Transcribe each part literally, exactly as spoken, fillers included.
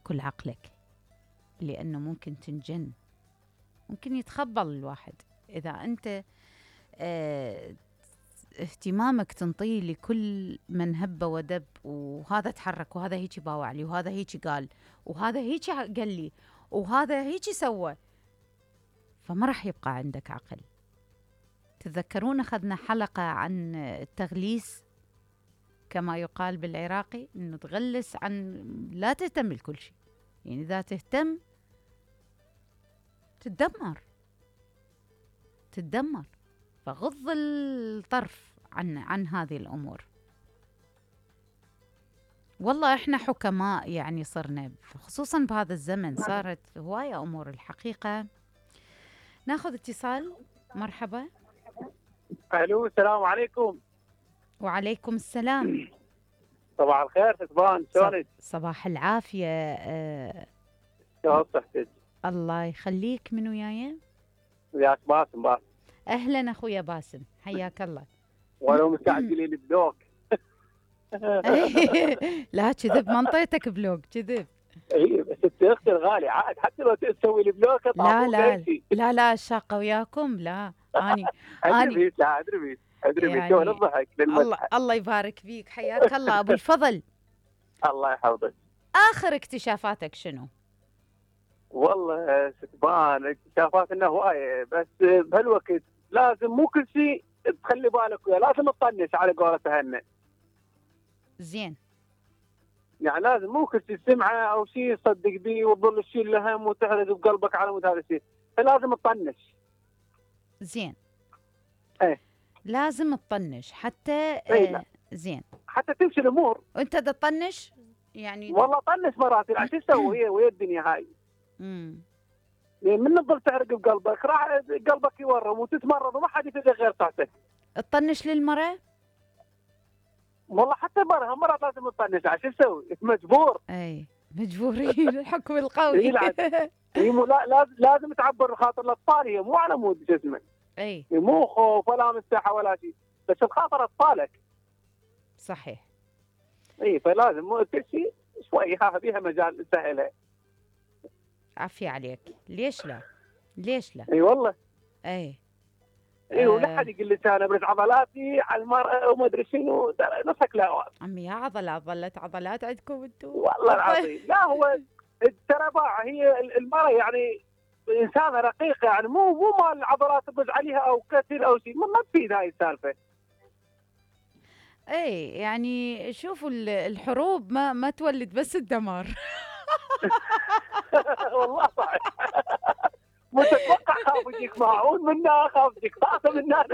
تاكل عقلك، لأنه ممكن تنجن، ممكن يتخبل الواحد إذا أنت اه اهتمامك تنطيه لكل من هب ودب، وهذا تحرك وهذا هيك باوع لي وهذا هيك قال وهذا هيك قال لي وهذا هيك سوى، فما راح يبقى عندك عقل. تتذكرون أخذنا حلقة عن التغليس كما يقال بالعراقي، إنه تغلس عن لا تهتم لكل شيء، يعني إذا تهتم تتدمر تتدمر فغض الطرف عن عن هذه الأمور. والله إحنا حكماء يعني صرنا، خصوصا بهذا الزمن صارت هواية أمور الحقيقة. ناخذ اتصال. مرحبا. الو السلام عليكم. وعليكم السلام. صباح الخير ستبان، شلونك؟ صباح العافية. أه شلون صحتك؟ الله يخليك. من وياي؟ وياك باسم. باسم أهلا أخويا باسم، حياك الله. ولو مستعجلين البلوك. لا كذب، منطقتك بلوك كذب. اي بس انت اختي الغالي عاد حتى لو تسوي لي بلوك لا لا لا لا الشاقة وياكم. لا اني اني لا ادري بيك ادري بيك يعني الضحك الله الله يبارك فيك، حياك الله ابو الفضل. الله يحفظك. اخر اكتشافاتك شنو؟ والله ستبان اكتشافاتنا هوايه، بس بهالوقت لازم مو كل شيء تخلي بالك وياه، لازم تطنش على قولة هنا. زين. يعني لازم مو كل شيء سمعه او شيء تصدق به وتظل تشيل هم وتحرز بقلبك على مود هذا الشيء، فلازم تطنش. زين. ايه لازم تطنش حتى ايه آه زين حتى تمشي الامور. وانت تطنش يعني؟ والله طنش مرات، يعني شو تسوي هي ويا الدنيا هاي. امم يعني من تظل تحرق بقلبك راح قلبك يورم وتتمرض وما حد يفيد غير طاعتك. تطنش للمرأة؟ والله حتى مرة مرات لازم تطنش، شو تسوي؟ مجبور. اي مجبورين. الحكم القوي. هي مو لا لازم تعبر خاطر الاطفال، هي مو على مود جسمك. اي مو خوف ولا مساحه ولا شيء، بس بخاطر اطفالك. صحيح. اي فلازم كل شيء شوي ها بيها مجال سهله. عافية عليك. ليش لا؟ ليش لا؟ اي والله. اي اي ولا حد يقول لي انا برد عضلاتي على المرأة وما ادري شنو، نفسك لا عمي يا عضلات، ظلت عضلات عندكم انتم والله العظيم. لا هو ترى باع هي المرأة يعني انسانه رقيقه، يعني مو مو مال عضلات تبز عليها او كثير او شيء، ما تفيد هاي السالفه. اي يعني شوفوا الحروب ما ما تولد بس الدمار. والله صحيح. متوقع خاف يجيك ماعون منا، خاف يجيك طاسه منا.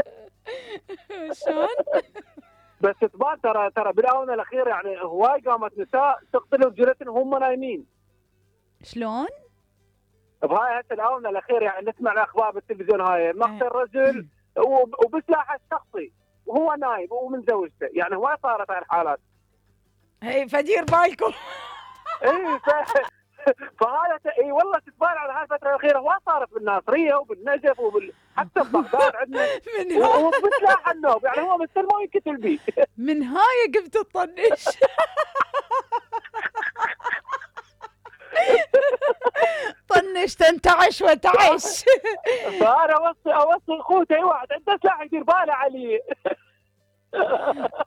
شلون؟ بس تبان ترى ترى بالاونه الاخيره يعني هواي قامت نساء تقتل رجالتهم وهم نايمين. شلون؟ بهاي هسه الاونه الاخيره يعني نسمع الاخبار بالتلفزيون، هاي مقتل رجل وبسلاحه الشخصي وهو نايم ومن زوجته، يعني هواي صارت هاي الحالات. اي فدير بالكم. اي فهذا اي والله تتبان على هاي الفتره الاخيره هواي صارت بالناصريه وبالنجف وبال حتى ببغداد عندنا وبسلاح النوب، يعني هو مثل ما ينقتل بيه. من هاي قمت تطنش. طنش تنتعش وتعش. فانا اوصي اوصي اخوتي اي واحد عنده سلاح يدير باله عليه.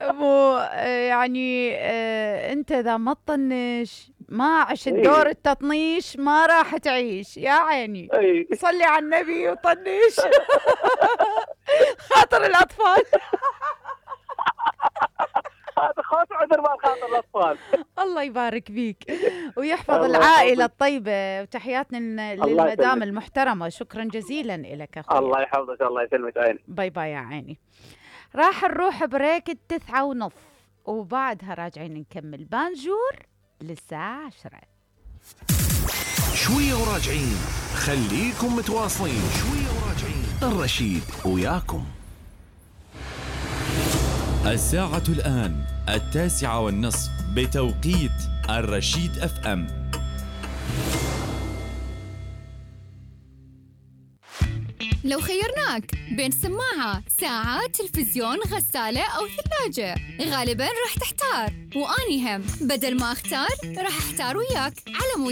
مو يعني آه انت اذا ما تطنش ما عشت دور التطنيش ما راح تعيش يا عيني. صلي على النبي وطنش. خاطر الاطفال. هذا خوف عذر ما خاطر الاطفال. الله يبارك بيك ويحفظ العائله الطيبه، وتحياتنا للمدام المحترمه. شكرا جزيلا لك اخوي. الله يحفظك. الله يسلمك عيني. باي باي يا عيني. راح نروح بريك التسعة ونص وبعدها راجعين نكمل بانجور للساعة عشرة. شوية وراجعين، خليكم متواصلين. شوية وراجعين، الرشيد وياكم. الساعة الآن التاسعة والنصف بتوقيت الرشيد اف ام. لو خيرناك بين سماعة، ساعة، تلفزيون، غسالة أو ثلاجة، غالباً راح تحتار، وأني هم بدل ما أختار راح أحتار وياك على مود